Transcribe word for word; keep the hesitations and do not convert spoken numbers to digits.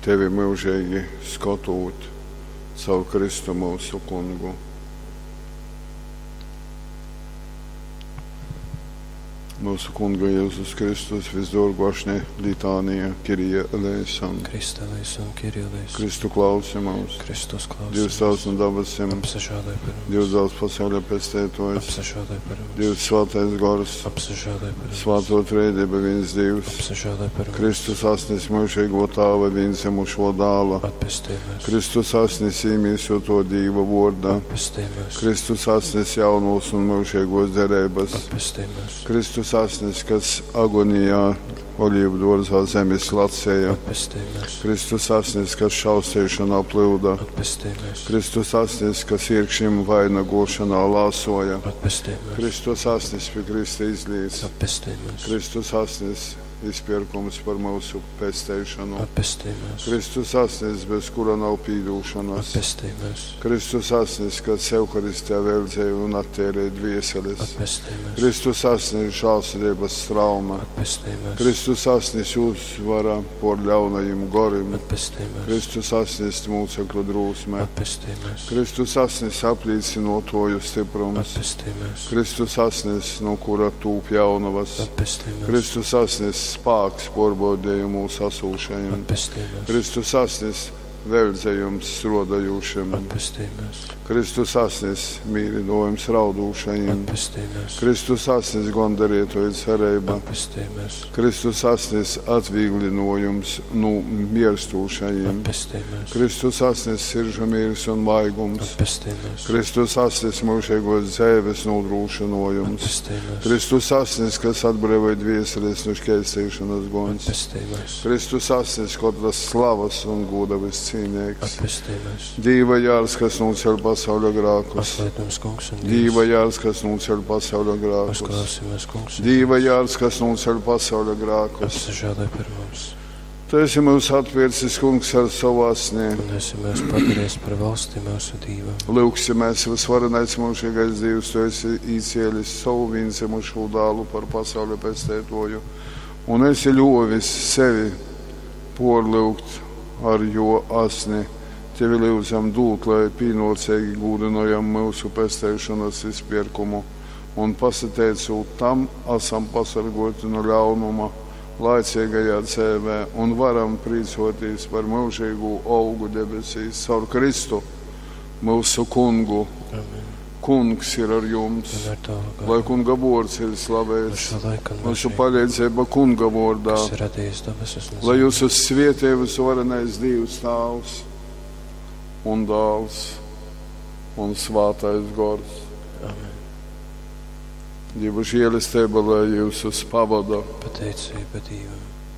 Tevi myužeigi skotūt, caur Kristu myusu Kungu. Myusu Kunga Jezus Kristus visdōrgō ašņa litānija, Kyrie eleison. Christe eleison, Kyrie eleison. Kristu klausi mūs. Kristus klausi Dievs Tēvs no dabasim, Apsažāloj par mums. Dievs Dēls pasauļa pesteitājs, Apsažāloj par mums. Dievs Svētais Gors, Apsažāloj par mums. Svāto Trejdieba viens Dievs, Apsažāloj par mums. Kristus asnis myužīgo Tāva vienzimušo dāla, Atpestī mūs. Kristus asnis īmīsoto Dīva vorda, Atpestī mūs. Kristus asnis jaunos un myužīgos derības, Atpestī mūs. Kristus asnis, kas agonijā olīvu dārzā zemes lacēja, Atpestī mūs. Kristus asnis, kas šaustīšanā plūda, Atpestī mūs. Kristus asnis, kas iekšim vainagošanā lāsoja, Atpestī mūs. Kristus asnis pie Krista izlīdz, Atpestī mūs. Kristus asnis izpirkums par mūsu pesteišanu, Atpestī mūs. Kristus asnis, bez kura nav pīdūšanas, Atpestī mūs. Kristus asnis, kas Euharistijā veldzēja un attērēja dvieseles, Atpestī mūs. Kristus asnis žālsirdības trauma, Atpestī mūs. Kristus asnis uzvara por ļaunajiem gorim, Atpestī mūs. Kristus asnis mūcekļu drūsme, Atpestī mūs. Kristus asnis aplīcinotoju stiprums, Atpestī mūs. Kristus asnis, no kura tūp jaunavas, Atpestī mūs. Kristus asnis spāks porbaudējumu sasūšajiem, Atpestī mūs. Kristus asnis veldzējums srodajūšiem, Atpestī mūs. Kristus asnis mīrinojums raudūšajiem, Atpestī mūs. Kristus asnis gondarītoja cerība, Atpestī mūs. Kristus asnis atvieglinojums nu mirstūšajiem, Atpestī mūs. Kristus asnis siržu mīrs un maigums, Atpestī mūs. Kristus asnis mūžīgos dzēves nodrošinojums, Atpestī mūs. Kristus asnis, kas atbrīvoja dvieseles no šķērstīšanas guns, Atpestī mūs. Kristus asnis, katras slavas un goda viscīnīgs, Atpestī mūs. Dīva jārs, kas noceļ pasauļa grākus, Atlaid mums, kungs, un Dīva Dievs. jārs, kas noceļ pasauļa grākus, Uzklausi mūs, kungs, un Dīva jārs, kas noceļ pasauļa grākus. Apsažāloj par mums. Tu esi mūs atpircis, kungs, ar savu asni. Un esi mūs padarījis par valsti mūsu Dīvam. Lūgsimies, visvarenais mūžīgais Dievs, tu esi īcēlis savu vienzimušo dālu par pasauļa pestētoju, un esi ļovis sevi porlūgt ar jo asni. Tevi lūdzam dūt, lai pīnocīgi gūdinojam mūsu pestēšanas izpirkumu, un pasateicot tam, esam pasargoti no ļaunuma laicīgajā dzīvē un varam prīcoties par mūžīgu augu debesīs caur Kristu, mūsu kungu. Amen. Kungs ir ar jums, Un ar tavu lai garu. kunga vārds ir No slavēts, šā laika un mūsu mūžīgi, palīdzība kunga vārdā, kas ir radījis debesis un lai zemi. jūs svietē visvarenais Dievs Tēvs un Dēls un Svētais Gors. Amen. Dieva žēlastība, lai jūs pavada. Pateicība Dievam.